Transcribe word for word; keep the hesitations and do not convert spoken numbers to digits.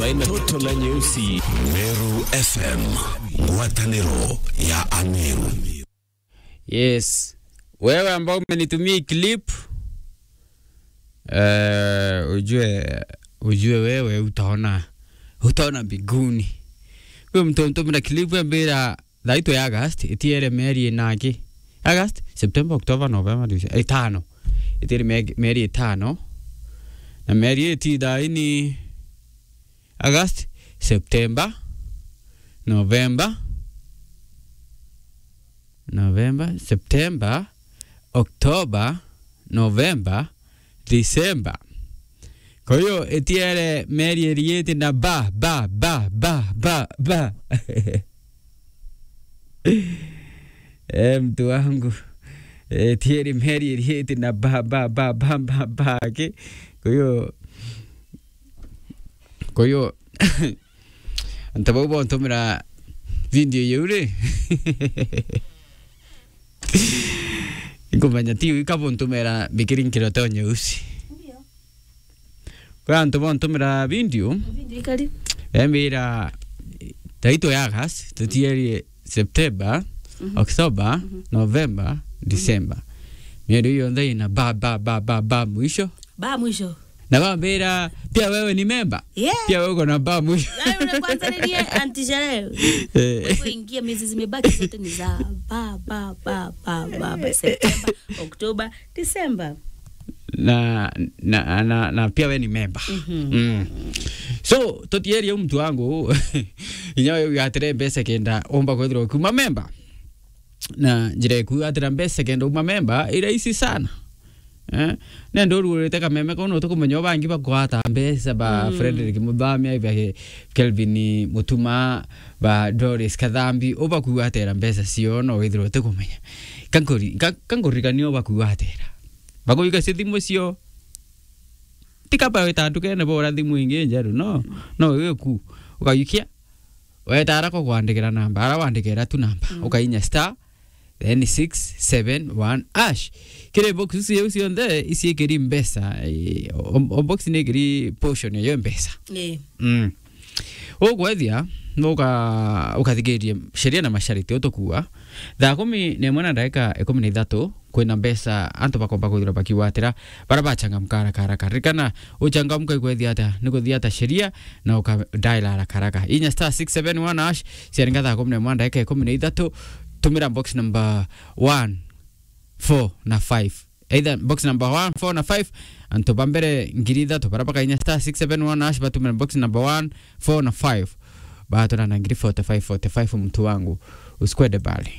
Aina toto na nyeusi. Meru F M, ngwataniro ya Ameru. Yes. Wewe ambao umenitumia hii clip, eh, ujue, ujue wewe utaona, utaona mbinguni. Huyo mtu mtumira clip ambira thaa itu ya August, itiere mieri inaki. August, September, October, November, December, itano. Itiere me-, mieri itano. Na mieri iti thaa ini August, September, November, November, September, October, November, December. Kwa hiyo, itiere mieri iriiti na ba, ba, ba, ba, ba, ba. Eh, mtu wangu. Eh, itiere mieri iriiti na ba, ba, ba, ba, ba, ba, ki. Kwa hiyo, kwa hiyo, antu bau bontumira video iu ri, nkumenya ti ika buntumira mbikiri nkiro tonye usi. Ndio. Kwa antu bontumira video, video ikari, embira taito ya gas, tutierie September, mhm, October, mhm, November, mhm, December. Mieri yonthe ina ba, ba, ba, ba, ba mwisho. Ba mwisho. Na bambira, "Pia wewe ni memba?" Yeah. Pia wewe uko na ba mwisho. Yaani, ule kwanza nilie anti sherehe. Eh. Kwa hivyo ingia, miezi zimebaki zote ni za ba, ba, ba, ba, ba, ba, September, October, December. Na, na, na, na pia we ni memba. Mhm. Mm. So, tutierie u mtu wangu, inya we wigatire mbeca kenda umba kwithirwa ukiuma memba. Na njira ya kwigatira mbeca kenda uma memba i rahisi sana. Eh? Nenda urugurite kameme kau, no tukumenya ubangi bakwata mbeca ba, mm, Frederick Muthamia, ba Kelvin Mutuma, ba Doris Kathambi, ubakwatira mbeca cio, no withirwa utikumenya. Kankuri-, ka-, kankuririkania ubakwatira. Bakujukia cia thimu cio. Ti kaba wita ndukene bora thimu ingi njeru, no. No, iwe ku. Ukayukia. Weta ara ko kwandikira namba, ara wandikira tu namba. Mm. Ukainya star, then six seven one hash. Kiri box ici iu cionthe, iciikiri mbeca, eh, o, o box ni ikiri portion ya mbeca. Eh. Mm. Ukwethia, nuka, ukathikirie sheria na mashariti utukua. Thaa kumi na imwe na ndagika ikumi na ithatu, kwina mbeca antu bakomba kwithirwa bakiwatira, bara bachangamka haraka haraka. Ririkana, uchangamka ikwethia ata, ni kuthia ata sheria, na uka dial haraka haraka. Inya star six seven one hash, ciaringa thaa kumi na imwe ndagika ikumi na ithatu, tumira box number one, four na five. Either box number one, four na five, antu ba mbere ngiri ithatu, bara bakainya star six seven one hash, batumira box number one, four na five. Batura na ngiri forty-five, forty-five, mtu wangu. Usikwende mbali.